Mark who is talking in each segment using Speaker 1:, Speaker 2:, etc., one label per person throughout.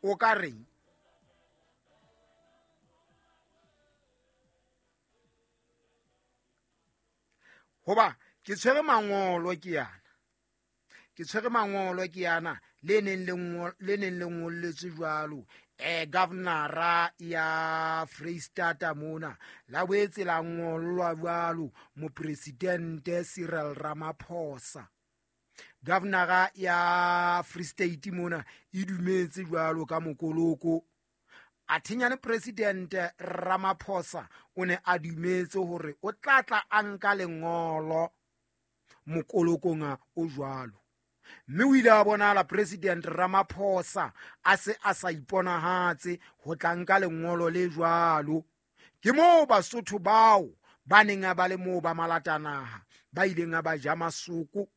Speaker 1: O ka reng? Hoba ke tshwere mangolo ke yana, ke tshwere mangolo ke yana le neng le ngolletswe jwalo governora ya Freistata mona, la boetse la ngollwa jwalo mopresidente Cyril Ramaphosa. Governora ya Free State mona e dumetse jwalo ka mokoloko. Athenyane President Ramaphosa o ne a dumetse hore o tla tla a nka lengolo mokolokong o jwalo. Mme o ile a bonahala President Ramaphosa a se a sa iponahatse ho tla nka lengolo le jwalo. Ke moo Basotho bao ba neng ba le moo ba malatanaha ba ileng ba ja masoko.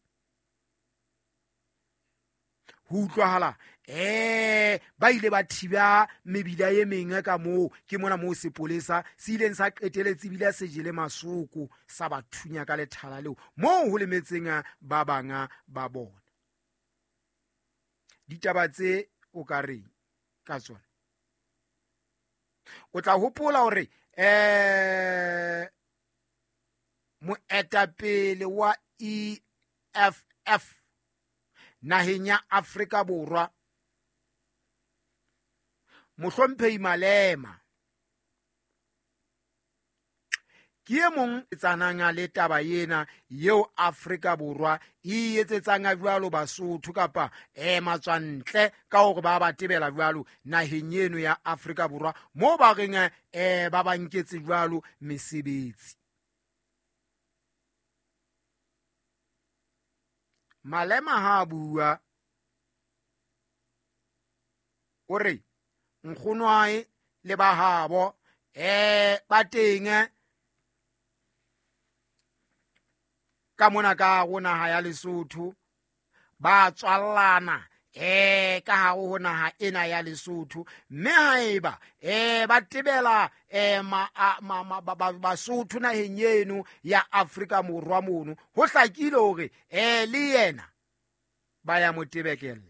Speaker 1: Ho utlwahala ba ile ba thiba mebila e meng ka moo, ke mona moo sepolesa se ileng sa qeteletse ebile se jele masoko sa ba thunya ka lethala leo moo ho lemetseng ba banga ba bona. Ditaba tse o ka reng ka tsona? O tla hopola hore moetapele wa EFF naheng ya Afrika Borwa Mohlomphehi Malema ke e mong tsanang le taba ena eo Afrika Borwa e etsetsang jwalo Basotho kapa matswantle ka hore ba ba tebela jwalo naheng eno ya Afrika Borwa moo ba reng ba ba nketse jwalo mesebetsi. Malema ha bua o re nkgonwae le ba habo ba teng ka mona ka go naha ya Lesotho, ba tswallana ka hare ho naha ena ya Lesotho, mme haeba ba tebela Basotho naheng eno ya Afrika Borwa mono, ho hlakile hore le yena ba ya mo tebekella,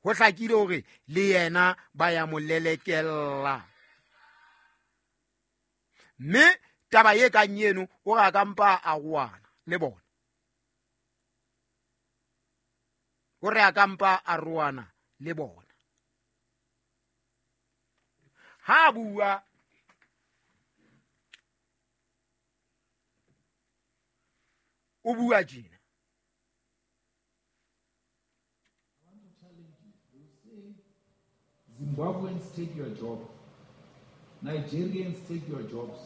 Speaker 1: ho hlakile hore le yena ba ya mo lelekella. Mme taba e kang eno o re a ka mpa a roana le bona, o re a ka mpa a roana le bona. Ha bua o bua tjena.
Speaker 2: Zimbabweans take your job, Nigerians take your jobs,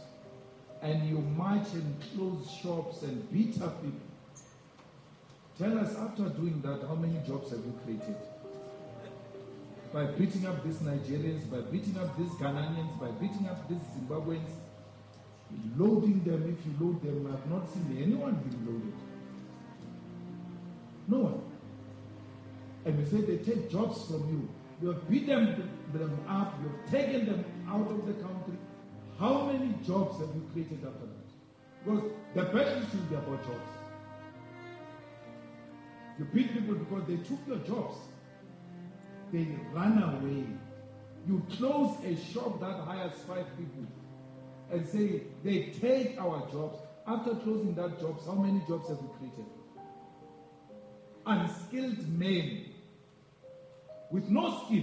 Speaker 2: and you march and close shops and beat up people. Tell us, after doing that, how many jobs have you created? By beating up these Nigerians, by beating up these Ghanaians, by beating up these Zimbabweans, loading them. If you load them, I have not seen anyone being loaded. No one. And you say they take jobs from you. You have beaten them up, you have taken them out of the country. How many jobs have you created after that? Because the battle should be about jobs. You beat people because they took your jobs. They run away. You close a shop that hires 5 people and say, they take our jobs. After closing that jobs, how many jobs have you created? Unskilled men with no skill.